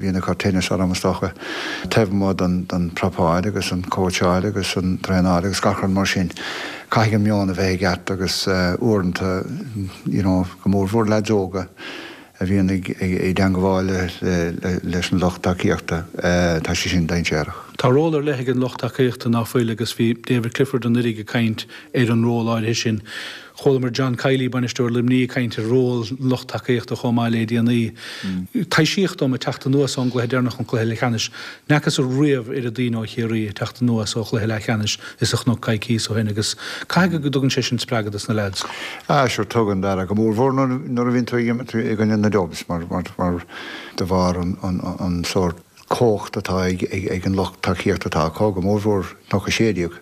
Bhíonn ag cur tinnis orm, is dócha, taobh amuigh den prepáil agus an cóitseáil agus an traenáil agus gach rud mar sin, caithfidh an meon a bheith i gceart agus uaireanta, you know, go mórmhór leaids óga a bhíonn ag teangabháil leis an lucht tacaíochta, tá sé sin dainséarach. Tá ról ar leith ag an lucht tacaíochta, ná fuil, agus bhí David Clifford anuraidh ag caint ar an ról áirithe sin. Chualamar John Kiely, bainisteoir Luimnigh, ag caint ar ról an lucht tacaíochta chomh maith le déanaí. Taibhsíodh dom ag teacht anuas ón gcluiche deireanach an cluiche leathcheannais. N'fhacthas riamh oiread daoine ó Chiarraí ag teacht anuas ó chluiche leathcheannais is a chnoc coicíos ó shin agus caithfidh go dtugann sé sin spreagadh dos na leaids. Ah sure tugann, Dara, go mórmhór nuair a bhíonn tú ag imirt i gcoinne na Dubs mar de bharr an sórt cumhacht atá ag an lucht tacaíochta atá acu, go mórmhór Cnoc 16.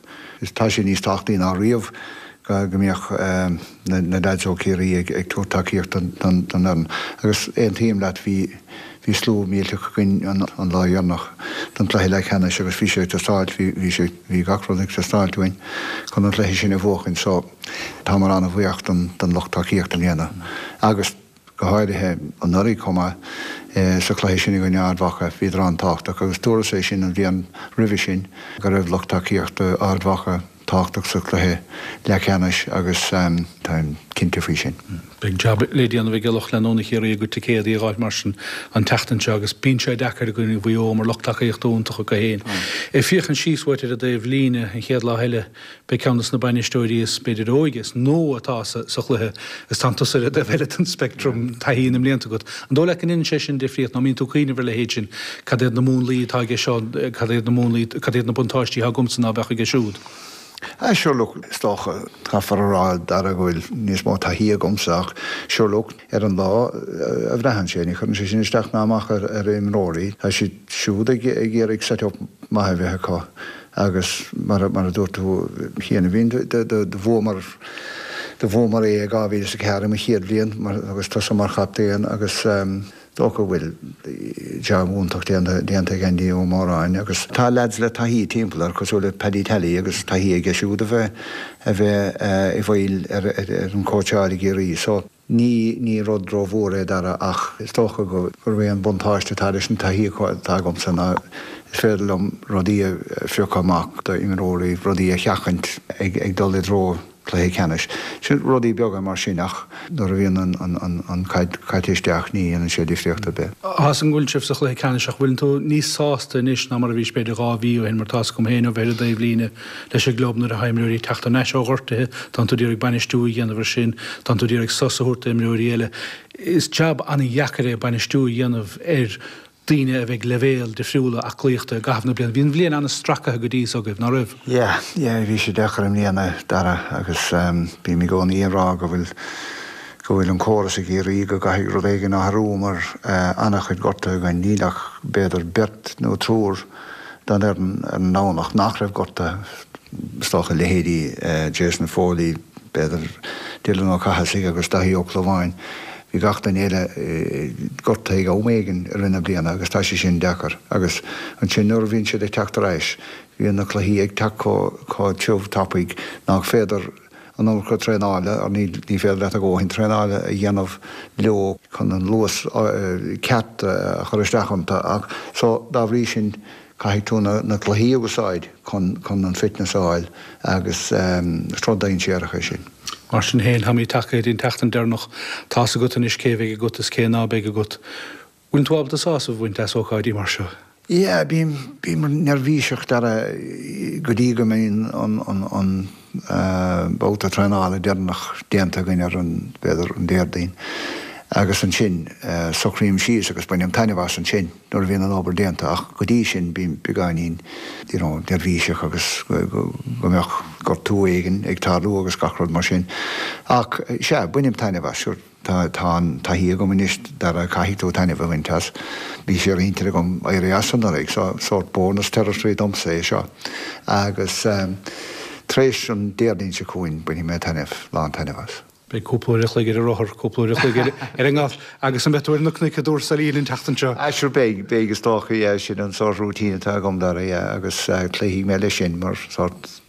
Is tá sé níos tábhachtaí ná riamh go mbeadh na leaids ó Chiarraí ag tabhairt tacaíocht don fhoireann. Agus aontaím leat, bhí bhí slua millteach againn an lá dheireanach don chluiche leathcheannais agus bhí sé ag teastáilt, bhí sé, bhí gach rud ag teastáilt uainn chun an cluiche sin a bhuachan. So, táimid an-bhuíoch don lucht tacaíochta i mbliana agus. go háirithe anuraidh chomh maith, sa chluiche sin i gcoinne Ard Mhacha. Bhíodar an-tábhachtach agus dúras é sin an bhliain roimhe sin go raibh lucht tacaíochta Ard Mhacha tábhachtach sa chluiche leathcheannais agus táim cinnte faoi sin. Beidh jab le déanamh ag lucht leanúna Chiarraí a gcuid ticéadaí a dh'fháil mar sin an tseachtain seo agus bíonn sé deacair i gcoinne Mhaigh Eo mar lucht tacaíochta iontach acu féin. Ag féachaint síos uait ar an dtaobh líne an chéad lá eile, Beidh ceann de na bainisteoirí is, b'fhéidir, óige, is nua atá sa chluiche is tánn tusa ar an dtaobh eile den speictream, taithí na mblianta agat. An dóigh leat go ndéanann sé sin difríocht nó an mbíonn tú ag cuimhneamh ar a leithéid sin, cad iad na múnlaí atá aige seo, cad iad na múnlaí, cad iad na buntáistí atá agamsa ná beadh aige siúd? Ah sure look, is dócha, caithfear a rá, Dara, go bhfuil níos mó taithí agamsa ach sure look, ar an lá a bhraitheann sé, ní chuireann sé sin isteach ná amach ar imreoirí, tá siad siúd ag iarraidh set up maith a bheith acu. Agus mar a dúirt tú cheana, bhí, do bhuamar, do bhuamar é i 2004 i mo chéad bhliain agus tusa mar chaptaen agus dócha go bhfuil jab iontach déanta, déanta ag Andy Ó Móráin agus tá leaids le taithí timpeall air cosúil le Paddy Tally agus taithí aige siúd a bheith, a bheith i bhfeighil ar, ar an cóitseáil i gCiarraí. So. Ní, ní rud rómhór é Dara ach is dócha go, gurb é an buntáiste atá leis an taithí atá agamsa ná is féidir liom rudaí a phiocadh amach d'imreoirí, rudaí a sheachaint ag, ag dul i dtreo cluiche ceannais. Sin rudaí beaga mar sin ach nuair a bhíonn an, an, an, an chaid caite isteach ní dhéanann sé difríocht ar bith. Tá's agam go bhfuil sibh sa chluiche ceannais ach bhfuileann tú níos sásta anois ná mar a bhís b'fhéidir 2 mhí ó shin mar tá's agam féin ó bheith ar an dtaobh líne leis an gclub nuair atá imreoirí ag teacht thar n-ais ó ghortuithe, tánn tú d'iarraidh bainistiú a dhéanamh ar sin, tánn tú d'iarraidh sos a thabhairt d'imreoirí eile. Is jab an-dheacair é bainistiú a dhéanamh ar daoine a bheith ag leibhéal difriúla aclaíochta i gcaitheamh na bliana. Bhí an bhliain an-stracaithe go dtí so agaibh, ná raibh? Yeah, yeah, bhí sé deacair i mbliana, Dara, agus bím i gcónaí ag rá go bhfuil, go bhfuil an córas i gCiarraí go gcaithfidh rud éigin athrú mar an-chuid gortuithe againn, níl ach b'fhéidir beirt nó triúr den fhoireann ar an nDomhnach nach raibh gortaithe, is dócha, leithéidí Jason Foley, b'fhéidir Dylan Ó Cathasaigh agus Daithí Ó Clúmháin. Bhí gach duine eile gortaithe ag am éigin i rith na bliana agus tá sé sin deacair. Agus ansin nuair a bhíonn siad ag teacht ar ais, bíonn na cluichí ag teacht chomh tiubh tapaidh nach féidir an iomarca traenála, or ní féidir leat a dhóthain traenála a dhéanamh leo chun an luas ceart a chur isteach iontu ach so dá bhrí sin caithfidh tú na cluichí a úsáid chun chun an fitness a fháil agus is rud dainséarach é sin. Mar sin féin, táimid tagtha go dtí an tseachtain deireanach, tá's agat anois cé a bheidh agat is cé ná beidh agat. Bhfuil tú ábalta sásamh a bhaint as ócáidí mar seo? Yeah, bím, bím neirbhíseach Dara go dtí go mbíonn an, an, an babhta traenála deireanach déanta againn ar an, b'fhéidir, an Déardaoin agus ansin socraím síos agus bainim taitneamh as ansin nuair a bhíonn an obair déanta ach go dtí sin bím beagáinín you know neirbhíseach agus go, go, go mbeadh gortú éigin ag tarlú agus gach rud mar sin. Ach sea, bainim taitneamh as, sure. Tá an taithí agam anois, Dara, caithfidh tú taitneamh a bhaint as. Bhí sé ar intinn agam éirí as anuraidh, so sórt bonus territory domsa é seo. Agus tar éis an Déardaoin seo chugainn, bainfidh mé taitneamh, lán taitneamh as. Beidh cúpla uair a chloig ar an rothar, cúpla uair a chloig ar an ngalf agus an mbeidh tú ar na cnoic i dTuar Sailín an tseachtain seo? Ah sure beidh, beidh is dócha, yeah, sin an sórt routine atá agam, Dara, yeah, agus cloífidh mé leis sin mar sórt.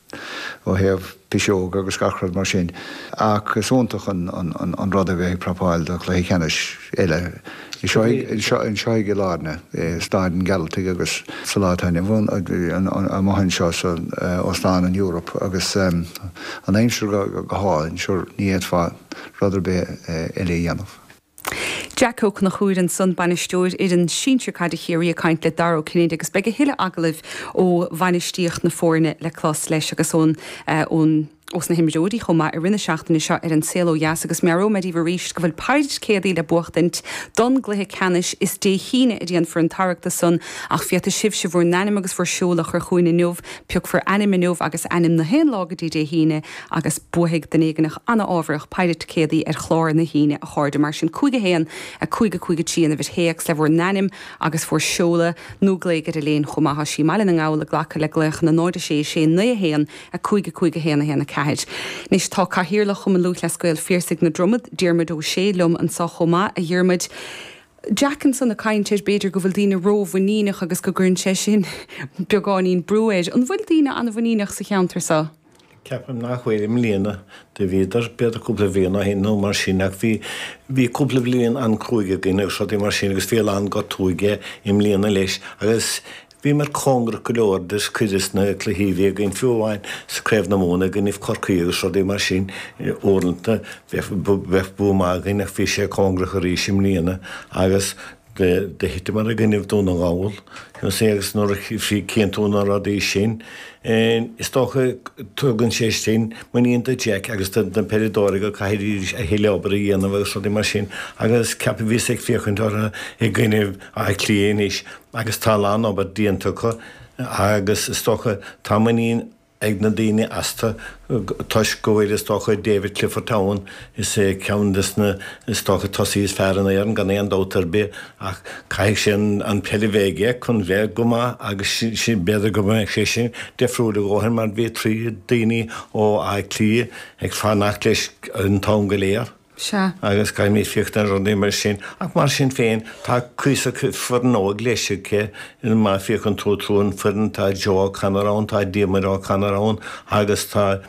ó thaobh piseoga agus gach rud mar sin. Ach is iontach an rud a bheith ag prapáil do chluiche ceannais eile anseo i gCill Airne, i Staid an Ghearaltaigh agus sa lá atá inniu ann amuigh anseo san Óstán an Europe agus an aimsir go hálainn, sure ní fhéadfá rud ar bith eile a dhéanamh. Jack Ó Conchúir ansan, bainisteoir fhoireann sinsir caide Chiarraí ag caint le Dara Ó Cinnéide agus beidh a thuilleadh agallaimh ó bhainistíocht na foirne le clos leis agus ón ón ós na himreoirí chomh maith i rith na seachtaine seo ar An Saol Ó Dheas agus meabhróidh mé daoibh arís go bhfuil péire ticéadaí le buachtaint don gcluiche ceannais. Is Dé hAoine a déanfar an tarrac san ach féadfaidh sibhse bhur n-ainm agus bhur seoladh a chur chugainn inniu. Piocfar ainm inniu agus ainm na haon lá go dtí Dé hAoine agus buafaidh duine éigineach an-ámharach péire ticéadaí ar chlár na hAoine, a chairde. Mar sin, 5 1 5 5 3 an uimhir théacs le bhur n-ainm agus bhur seoladh, nó glaoigh ar Elaine chomh maith. Tá sí i mBaile na nGall ag glacadh le glaochanna 0 6 6 9 1 5 5 1 1 4. Anois tá Cathaoirleach Chumann Lúthchleas Gael Phiarsaigh na Dromad, Diarmuid Ó Sé, liom anso chomh maith. A Dhiarmuid, Jack ansan ag caint ar b'fhéidir go bhfuil daoine rómhuiníneach agus go gcuireann sé sin beagáinín brú air. An bhfuil daoine an-mhuiníneach sa cheantar so? Ceapaim nach bhfuil i mbliana. Do bhíodar, b'fhéidir cúpla bhliain ó shin nó mar sin ach bhí, bhí cúpla bliain an-cruaidh againn agus rudaí mar sin agus bhí a lán gortú aige i mbliana leis agus Bhíomar cóngarach go leor do cuid des na cluichí a bhí againn, fiú amháin sa Craobh na Mumhan i gcoinnibh Corcaí agus rudaí mar sin. Uaireanta bheadh bua maith againn ach bhí sé cóngarach arís i mbliana agus do thiteamar i gcoinnibh Dún na nGall you see agus nuair a chíonn tú na rudaí sin is dócha tugann sé sin muinín do Jack agus do na peileadóirí go caithfidís a thuilleadh obair a dhéanamh agus rudaí mar sin agus ceapaim bhíos ag féachaint orthu i gcoinnibh Átha Cliath anois agus tá a lán obair déanta acu agus is dócha tá muinín ag na daoine astu toisc go bhfuil is dócha David Clifford ann, is é ceann des na is dócha tosaithe is fearr in Éirinn gan aon dabht ar bith ach caithfidh sé an peil a bheith aige chun bheith go maith agus sin b'fhéidir go mbeidh sé sin difriúil a dhóthain mar bhí trí daoine ó Áth Cliath ag fanacht leis an t-am go léir. Sea. Agus caithfimid féachaint ar rudaí mar sin. Ach mar sin féin, tá cuíosach foireann óg leis aici. Má féachann tú trú an foireann, tá Joe O'Connor ann, tá Diarmuid O'Connor ann agus tá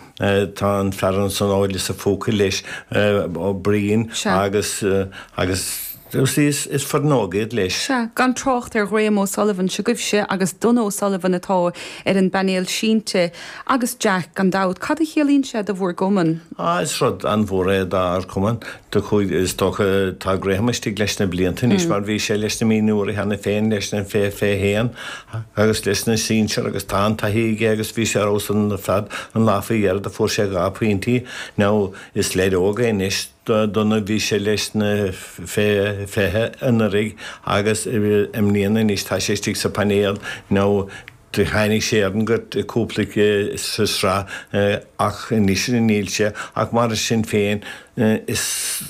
tá an fear ansan ó Lios a' Phúca leis, Ó Briain agus agus you see is is foireann óg iad leis. Sea, gan trácht ar Ghraham O'Sullivan s'agaibhse agus Donagh O'Sullivan atá ar an bpainéal sínte. Agus Jack, gan dabht. Cad a chiallaíonn sé do bhur gcumann? Ah, is rud an-mhór é dár gcumann. Do chuaigh, is dócha, tá Graham istigh leis na blianta anois mar bhí sé leis na mionúirí cheana féin, leis na fé 21 agus leis na sinsir agus tá an-taithí aige agus bhí sé ar fheabhas ar fad an lá faoi dheireadh, do fuair sé dhá phointí. Now, is leaid óg é anois. Donagh, bhí sé leis na fé 20 anuraidh agus i mbliana anois tá sé istigh sa phainéal. Now, do tháinig sé ar an ngort cúpla sa sraith ach anois níl sé ach mar sin féin is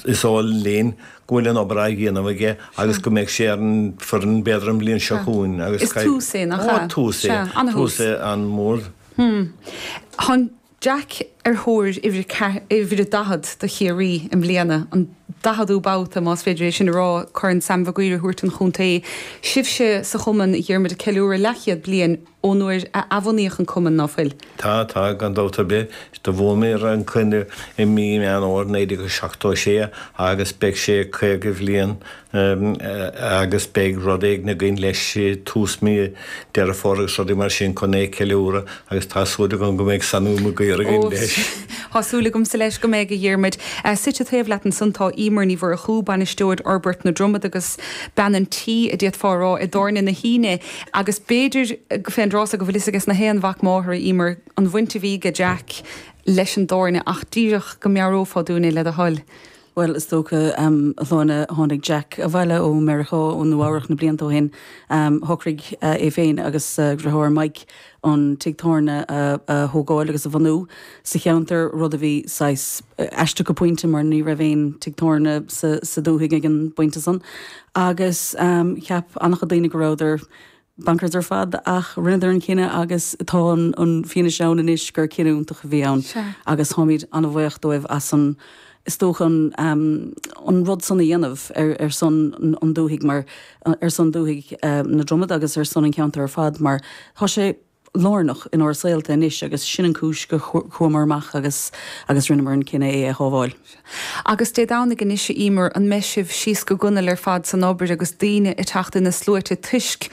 is eol linn go bhfuil an obair á dhéanamh aige agus go mbeidh sé ar an foireann b'fhéidir an bhliain seo chugainn agus Is tús é, nach ea? Ó, tús é, tús é an-mhór. Hmm. Tá Jack ar thóir uimhir uimhir a 40 do Chiarraí i mbliana, an daicheadú babhta, más féidir é sin a rá, Corn Sam Mhig Uidhir a thabhairt don chontae. Sibhse sa chumann, a Dhiarmuid, ag ceiliúradh leathchéad bliain ón uair a athbhunaíodh an cumann, ná fuil? Tá, tá, gan dabht ar bith. Do bhunaíomar an cumann i mí Meán Fhómhair 1976 agus beidh sé 50 bhliain agus beidh rud éigin againn leis tús mí Deireadh Fómhair agus rudaí mar sin chun é a cheiliúradh agus tá súil agam go mbeidh Sammy Mac Uidhir againn leis. Tá súil agamsa leis go mbeidh, a Dhiarmuid. Suite taobh leat ansan tá Emer Ní Mhurchú, Bainisteoir Fhorbairt na Dromad agus bean an tí, a d'fhéadfá a rá, i dTábhairne na hAoine agus b'fhéidir fén dtráth so go bhfuil fhios ages na haon mhac máthar, a Emer, an bhaint a bhí aige Jack leis an dtábhairne ach díreach go meabhrófá dúinn é le do thoil. Bhuel, is dócha, a Shláine, tháinig Jack abhaile ó Meiriceá, ó Nua Eabhrac na blianta ó shin. Shocraigh é féin agus a dheartháir Mike an tigh tábhairne a thógáil agus a bhunú sa cheantar, rud a bhí saghas aisteach go pointe mar ní raibh aon tigh tábhairne sa dúthaigh ag an bpointe san. Agus cheap an-chuid daoine go rabhadar bonkers ar fad ach rinneadar an cinneadh agus tá an fianaise ann anois gur cinneadh iontach a bhí ann agus táimid an-bhuíoch dóibh as an, is dócha an, an rud san a dhéanamh ar ar son an dúthaigh mar, ar son dúthaigh na Dromad agus ar son an cheantair ar fad mar tá sé. lárnach inár saolta anois agus sin an cúis go chuamar amach agus agus rinneamar an cinneadh é a shábháil. Agus Dé Domhnaigh anois a Emer, an mbeidh sibh síos go gunail ar fad san obair agus daoine ag teacht ina sluaite toisc.